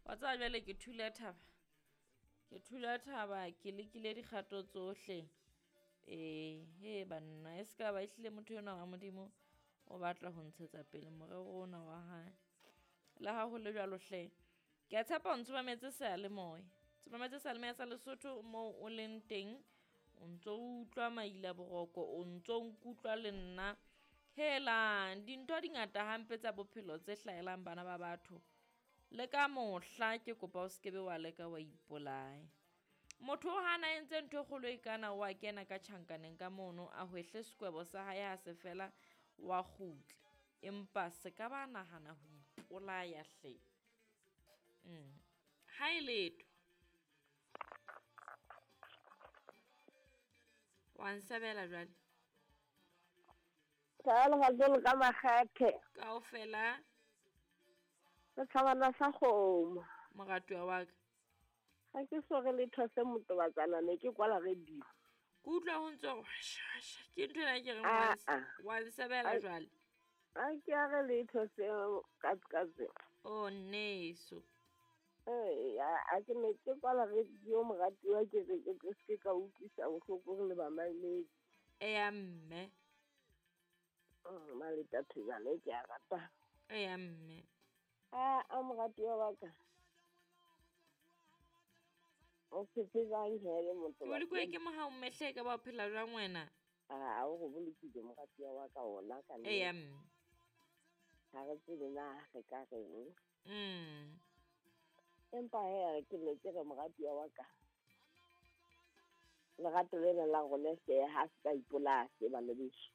Wa tseba jwale ke thula thaba. Ke thula thaba ke lekile dikgato tsohle. Ee, he banna e ska ba ehlile motho enwa wa Modimo o batla ho ntshetsa pele morero ona wa hae. Le ha ho le jwalo hle, ke a tshepa o ntso mametse seyalemoya. Ntso mametse seyalemoya sa Lesotho moo o leng teng, o ntso utlwa maila boroko, o ntso nkutlwa le nna. Helang, dintho di ngata hampe tsa bophelo tse hlahelang bana ba batho. Le ka mohla ke kopa o skebe wa leka wa ipolaya. Motho o hana entse ntho e kgolo e kana wa kena ka tjhankaneng ka mono a hwehle sekwebo sa hae ha se fela wa kgutla. Empa se ka ba nahana ho ipolaya hle. Ha e letho. Wa nsebela jwale. Tla le ka makgethe. Kaofela. Re thabana sa kgomo. Moratuwa wa ka. Ga ke so re letho se motobatsana ne ke kwala radio. Ke utlwa ho ntse ke ntho ena ke reng wa nsebela jwale. A ke a re letho se katse. Oh nneso. Eh a ke ne ke kwala radio moratuwa ke re ke se ka utlwisa bohloko re le ba mamedi. Eya mme. Maleta thejane ke a rata. Eya mme. A moratuwa wa ka. O phetse jwang hele motho? Ke bolokwe ke mohau mme hle ka ba o phela jwang wena? A o go bolokile moratuwa wa ka ona ka nnete. Eya mme. Ha re tsebe na re ka reng. Empa he re ke ne ke re moratuwa wa ka. Lerato lena la rona hle ha se ka ipolaya se bana beso.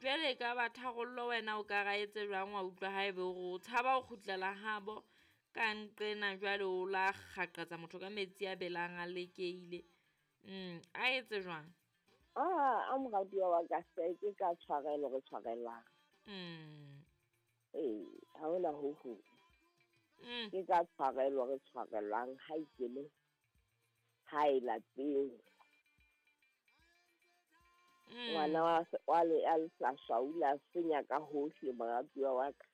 Jwale ka ba tharollo wena o ka ra etse jwang wa utlwa haebe o tshaba ho kgutlela habo ka nqena jwale o la kgaqetsa motho ka metsi a belang a lekeile. A etse jwang? A moratuwa wa ka se ke ka tshwarelo re tshwarelang. Ee, ha hona ho ho. Ke ka tshwarelo re tshwarelang ha ikele ha e lapeng. Ngwana wa le a hlahla senya ka hohle moratuwa wa ka.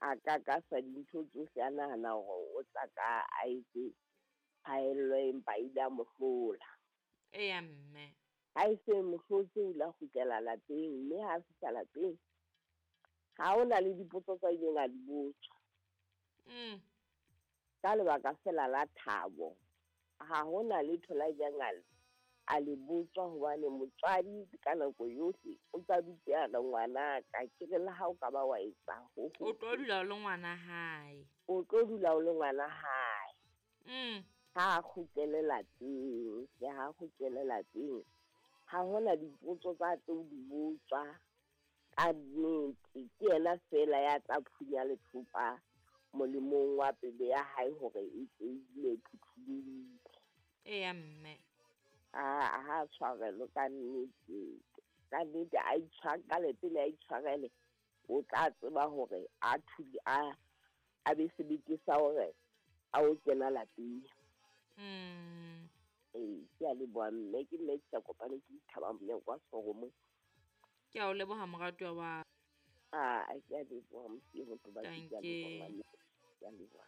A ka ka sa dintho tsohle a nahana hore o tla ka a etse phaello empa ile a mo hlola. Eya mme. Ha e se mo hlotse o la kgutlela lapeng mme ha fihla lapeng ha hona le dipotso tsa ileng a di botswa. Ka lebaka fela la thabo ha hona letho la ileng a le botswa hobane motswadi ka nako yohle o tla dutse a re ngwana ka ke re le ha o ka ba wa etsa ho o tlo dula o le ngwana hae. O tlo dula o le ngwana hae. Ha kgutlele lapeng, ke ha kgutlele lapeng. Ha hona dipotso tsa tlo di botswa ka nnete ke yena fela ya tla phunya lethopa molemong wa pelo ya hae hore e dule phuthulohile. Eya mme. A ha tshwarelo ka nnete. Ka nnete a itshwarele pele a itshwarele o tla tseba hore a thuli a be sebete sa hore a o kena lapeng. Ee, ke a leboha mme ke mme ke sa kopane ke ithaba monyako wa soromo. Ke a o leboha moratuwa wa. A ke a leboha mosiho motho ba ke a leboha. Ke a leboha.